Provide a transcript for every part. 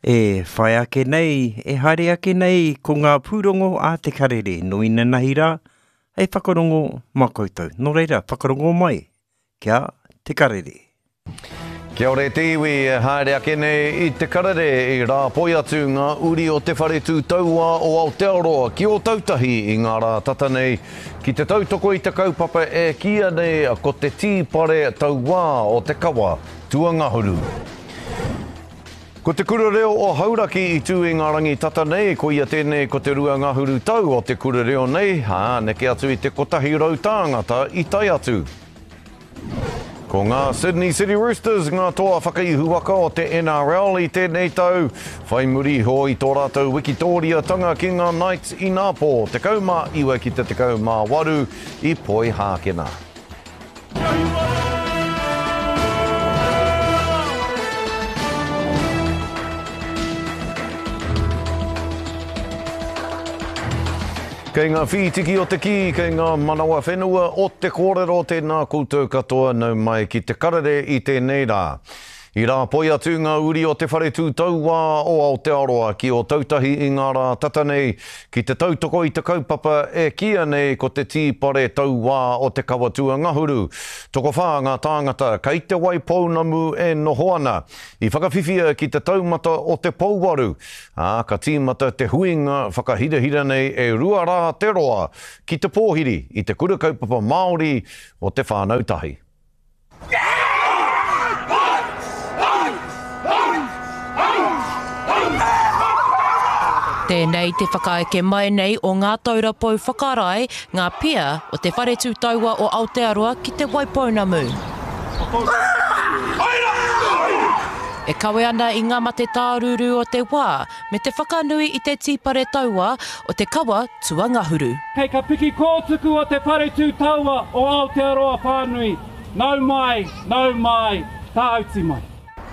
E whai ake nei, e haere ake nei ko ngā pūrongo a Te Karere nō inanahi rā hei whakarongo mā koutou. Nō reira, whakarongo mai kia Te Karere. Kia ora e te iwi e haere ake nei i Te Karere i rāpoi atu ngā uri o Te Whare Tū Tauā o Aotearoa ki Ōtautahi i ngā rā tata nei ki te tautoko i te kaupapa e kīia nei ko te Tīpare Tauā o te Kawa Tuangahuru. Ko te kura reo o Hauraki i tū i ngā rangi tata nei, koia tēnei ko te ruangahuru tau o te kura reo nei, ā, neke atu i te 100 tāngata i tae atu. Ko ngā Sydney City Roosters ngā toa whakaihuwaka o te NRL i tēnei tau, whai muri iho i tō rātou wikitōriatanga ki ngā Knights inapō, 19 ki te 18 i Poihākena. Kei ngā whītiki o te kī, kei ngā manawa whenua o te kōrero, tēnā koutou katoa nau mai ki te karere i tēnei rā. I rāpoi atu ngā uri o Te Whare Tū Tauā o Aotearoa ki Ōtautahi i ngā rā tata nei ki te tautoko i te kaupapa e kīia nei ko te Tīpare Tauā o Te Kawa Tuangahuru. Tokowhā ngā tāngata kei Te Waipounamu e noho ana, i whakawhiwhia ki te taumata o te pouwaru, ā, ka tīmata te huinga whakahirahira nei e rua rā te roa ki te pōhiri i te Kura Kaupapa Māori o Te Whānau Tahi. Tēnei te whakaeke mai nei o ngā taura pou whakarae, ngā pia o Te Whare Tū Taua o Aotearoa ki Te Waipounamu. E kawe ana i ngā mate tārūrū o te wā me te whakanui i te tīpare taua o te kawa tuangahuru. Kei ka piki kōtuku o Te Whare Tū Taua o Aotearoa whānui, nau mai, nau mai, tāuti mai.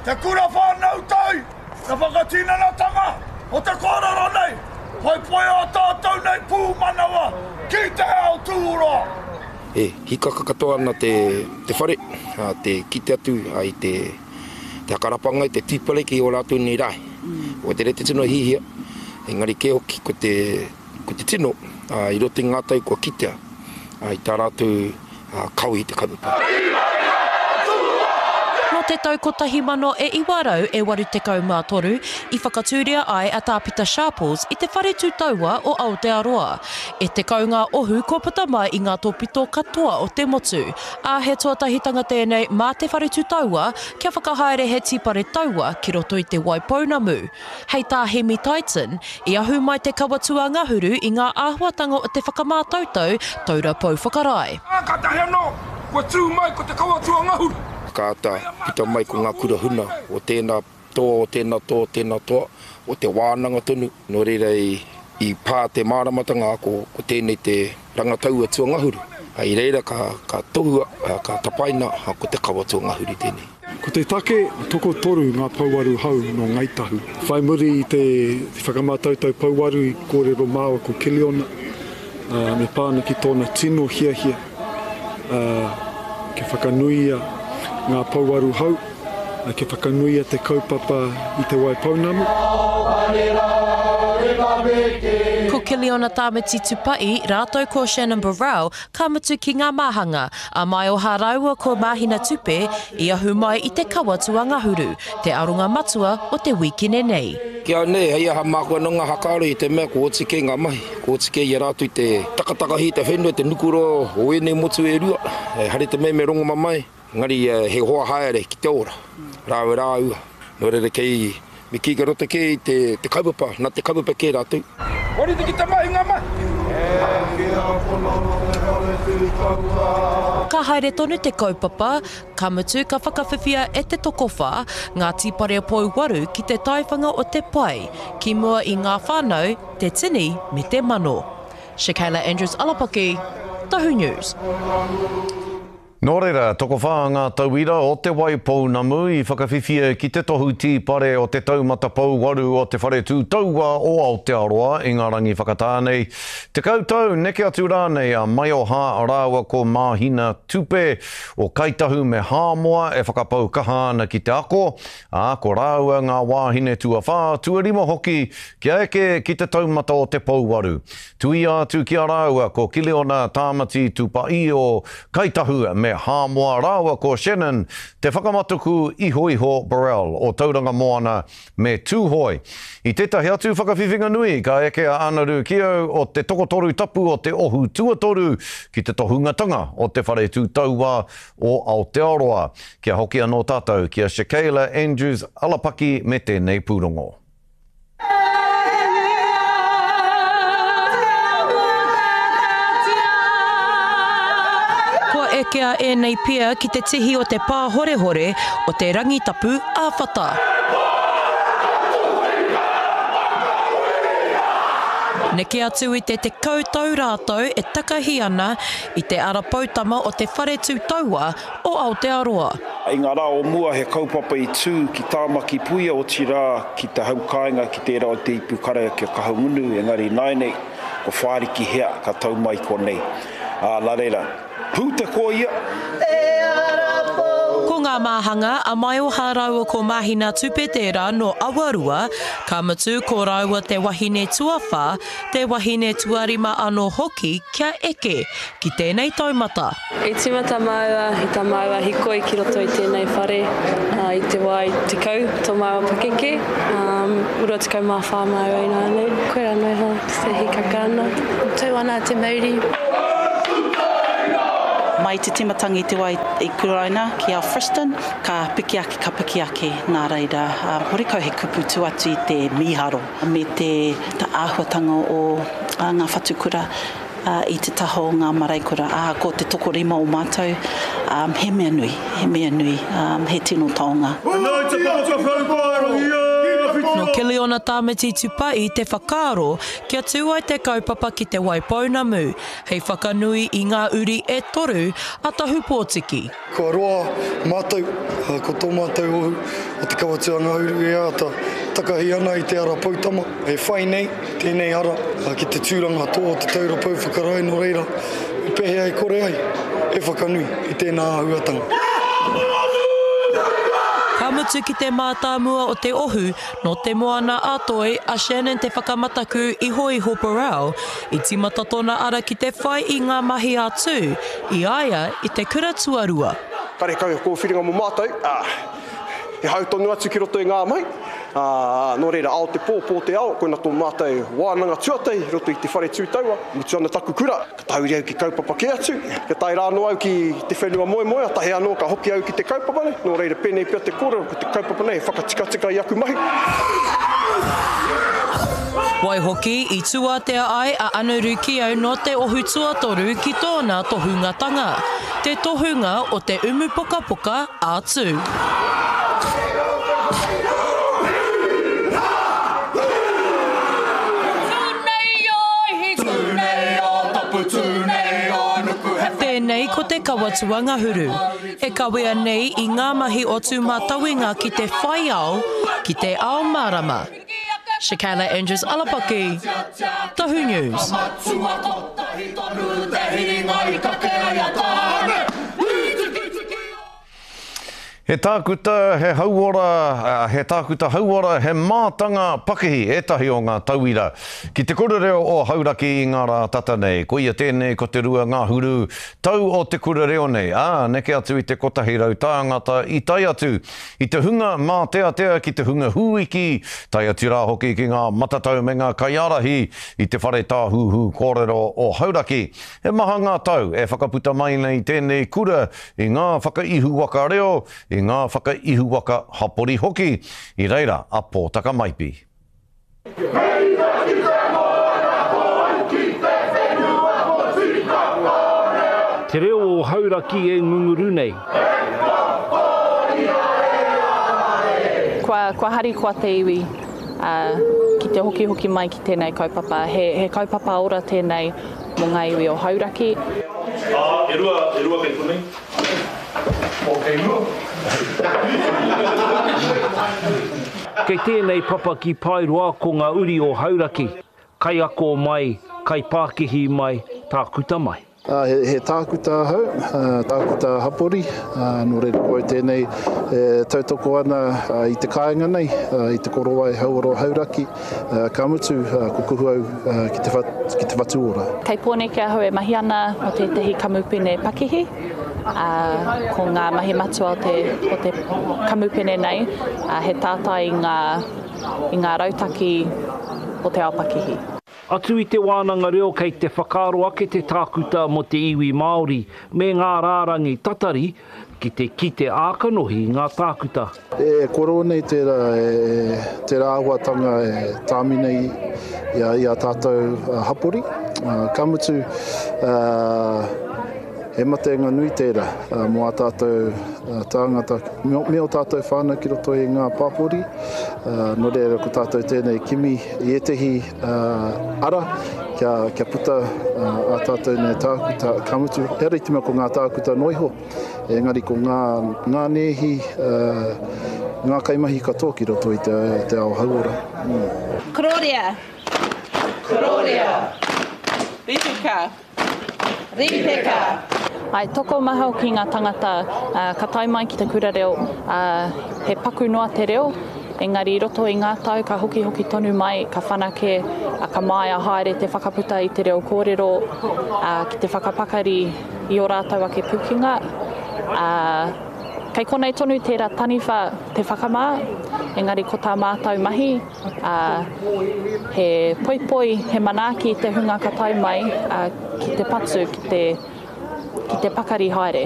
Te kura whānau tai, te whakatinanatanga o te kōrero nei, poipoi ō tātou nei pūmanawa ki te ao tūroa. E hikaka katoa ana te whare, te kite atu i te hakarapanga, i te tīpare ki ō rātou nei rae. Ko te rete tino hihia, engari kē hoki ko te Ko te tino, i roto i ngā tau kua kitea i tā rātou kawe i te kaupapa. Nō te tau 1983 i whakatūria ai a Tā Pita Sharples i te Whare Tū Taua o Aotearoa. E 10 ngā ohu kua puta mai i ngā tōpito katoa o te motu, ā, he tuatahitanga tēnei mā te Whare Tū Taua kia whakahaere he tīpare taua ki roto i Te Waipounamu. Hei tā Hemi Tyton, i ahu mai te kawa tuangahuru i ngā āhuatanga o te whakamātautau taura pou whakarae. Ā, kātahi anō, kua tū mai ko te kawa tuangahuru. Ka āta puta mai ko ngā kura huna o tēnā toa, o tēnā toa, o tēnā toa, o te wānanga tonu. Nō reira i pā te māramatanga ko tēnei te rangataua tuangahuru. I reira ka tohua, ka tapaina ko te kawa tuangahuru tēnei. Ko te take, tokotoru ngā pouaru hou nō Ngāi Tahu. Whai muri i te whakamātautau pouaru i kōrero māua ko Kiliona, me pā ana ki tōna tino hiahia kia whakanuia ngā pouaru hou, kia whakanuia te kaupapa i Te Waipounamu. Ko Kiliona Tāmati Tupa'i rātou ko Shannon Burrell ka mutu ki ngā māhanga, a Maioha rāua ko Māhina Tupe i ahu mai i te kawa tuangahuru, te aronga matua o te wīkene nei. Ki au nei, hei aha māku anō ngā hakaaro i te mea kua oti kē ngā mahi, kua oti kē i a rātou te takatakahi i te whenua, te nukuroa o ēnei motu e rua, ehara i te mea me rongomamae. Engari he hoa haere ki te ora, rāua rāua. Nō reira kei, me kī kei roto kē i te, te kaupapa, nā te kaupapa kē rātou. Kua rite ki te mahi ngā mahi. Ka haere tonu te kaupapa, ka mutu ka whakawhiwhia e te tokowhā ngā tīpare pouwaru ki te taiwhanga o te pae, ki mua i ngā whānau, te tini me te mano. Shakayla Andrews Alapaki, Tohu News. Nō reira, tokowhā ngā tauira o Te Wai Pounamu i whakawhiwhia ki te tohu tīpare o te Taumata Pouwaru o Te Whare Tū Tauā o Aotearoa i ngā rangi whakatā nei. 10 tau neke atu rānei a Maioha rāua ko Māhina Tupe o Kāi Tahu me Hāmoa e whakapau kaha ana ki te ako, ā, ko rāua ngā wāhine tuawhā, tuarima hoki kia eke ki te taumata o te pouwaru. Tuia atu ki a rāua ko Kiliona Tāmati Tupaī o Kai Tahu me Hāmoa rāua ko Shannon Te Whakamatuku Ihoiho Burrell o Tauranga Moana me Tūhoe. I tētahi atu whakawhiwhinga nui ka eke a Anaru Kiau o te Tokotoru Tapu o te Ohu Tuatoru ki te tohungatanga o Te Whare Tū Tauā o Aotearoa. Kia hoki anō tātou ki a Shakayla Andrews Alapaki me tēnei pūrongo. Kua ekea ēnei pia ki te tihi o te pāhorehore o te Rangitapu ā-Whata. Neke atu i te 10 tau rātou e takahi ana i te ara poutama o te Whare Tū Taua o Aotearoa. I ngā rā o mua he kaupapa i tū ki Tāmaki Puia otirā ki te hau kāinga ki tērā o Te Ipukarea ki a Kahungunu engari ināianei ko Whāriki hea ka tau mai konei. Ā, nā reira, pū te koia! Ko ngā māhanga a Maioha rāua ko Mahina Tupe tērā nō Awarua, ka mutu ko rāua te wahine tuawhā, te wahine tuarima anō hoki kia eke ki tēnei taumata. I tīmata māua i tā māua hikoi ki roto i tēnei whare i te wā i 10 tō māua pakeke, 24 māua ināianei. Koirā noa iho te hikaka ana. Tau ana te mauri. Mai te tīmatanga i te wā i kuraina ki Alfriston, ka piki ake, ka piki ake, nā reira, horekau he kupu tū atu i te mīharo me te āhuatanga o ngā whatukura. I te taha o ngā marae-kura, ā, ko te tokorima o mātou, he mea nui, he mea nui, he tino taonga. Nō Kiliona Tāmati Tupa'i te whakaaro kia tū ai te kaupapa ki Te Waipounamu, hei whakanui i ngā uri e toru a Tahupōtiki. Kua roa mātou, ko tō mātou ohu o Te Kawatū-a-Ngahuru e āta takahi ana i te ara poutama e whai nei tēnei ara ki te tūranga tō o te taura pou whakarae nō reira me pēhea e kore ai e whakanui i tēnā āhuatanga. Ka mutu ki te mātāmua o te ohu nō Te Moana-a-Toi a Shannon Te Whakamataku Ihoiho Burrell I tīmata tōna ara ki te whai i ngā mahi a Tū i a ia i te kura tuarua. Karekau he kōwhiringa mō mātou, ā, he hau tonu atu ki roto i ngā mahi, ā, nō reira, ao te pō, pō te ao, koina tō mātou wānanga tuatahi i roto i te whare tū taua, mutu ana taku kura, ka tahuri au ki kaupapa kē atu, kia tae rā anō au ki te whenua moemoea, tahi anō ka hoki au ki te kaupapa nei, nō reira, pēnei pea te kōrero, ko te kaupapa nei he whakatikatika i aku mahi. Waihoki, i tūātea ai a Anaru Kiau nō te ohu tuatoru ki tōna tohungatanga, te tohunga o te umu pokapoka a Tū. Tēnei ko te kawa tuangahuru, e kawea nei i ngā mahi o Tūmatauenga ki te whai ao, ki te ao mārama. Shakayla Andrews Alapaki, Tahu News. He tākuta, he hauora, he tākuta hauora, he mātanga pakihi ētahi o ngā tauira ki te kura reo o Hauraki i ngā rā tata nei. Koia tēnei ko te 2 ngahuru tau o te kura reo nei, ā, neke atu i te 100 tāngata i tae atu I te hunga māteatea ki te hunga hūiki, tae atu rā hoki ki ngā matatau me ngā kaiārahi i te whare tāhuhu kōrero o Hauraki. He maha ngā tau e whakaputa mai nei tēnei kura i ngā whakaihuwaka reo, i ngā whakaihuwaka hapori hoki. I reira a Pōtaka Maipi. Te reo o Hauraki e ngunguru nei. Kua, kua harikoa te iwi ki te hokihoki mai ki tēnei kaupapa. He, he kaupapa ora tēnei mō ngā iwi o Hauraki. Ā, e rua, e rua kei konei. Pō kei mua. Kei tēnei papa ki Paeroa ko ngā uri o Hauraki, kaiako mai, kaipākihi mai, tākuta mai. He tākuta ahau, tākuta hapori, nō reira ko au tēnei e tautoko ana i te kāinga nei, i te korowai hauora o Hauraki, ka mutu ko kuhu au ki te whatu ora. Kei Pōneke ahau e mahi ana mō tētahi kamupene pakihi, ā, ko ngā mahi matua o te, o te kamupene nei, he tātai i ngā, i ngā rautaki o te ao pakihi. Atu i te wānanga reo kei te whakaaro ake te tākuta mō te iwi Māori me ngā rārangi tatari ki te kite ā-kanohi ngā tākuta. E koro nei tērā, tērā āhuatanga e tāmi nei i ā tātou hapori. Ka mutu, he matenga nui tērā mō ā tātou tāngata me ō tātou whānau ki roto i ngā pāpori. Nō reira, ko tātou tēnei kimi i ētehi ara kia puta ā tātou nei tākuta, ka mutu, ehara i te mea ko ngā tākuta noa iho, engari ko ngā, ngā nēhi, ngā kaimahi katoa ki roto i te ao hauora. Kororia. Kororia. Ripeka. Rīpeka. Ae, tokomaha hoki ngā tangata ka tae mai ki te kura reo, he paku noa te reo, engari i roto i ngā tau ka hokihoki tonu mai, ka whanake, ka māia haere te whakaputa i te reo kōrero, ki te whakapakari i ō rātou ake pukenga. Kei konei tonu tērā taniwha te whakamā, engari ko tā mātou mahi, ā, he poipoi, he manaaki i te hunga ka tae mai, ā, ki te patu, ki te, ki te pakari haere.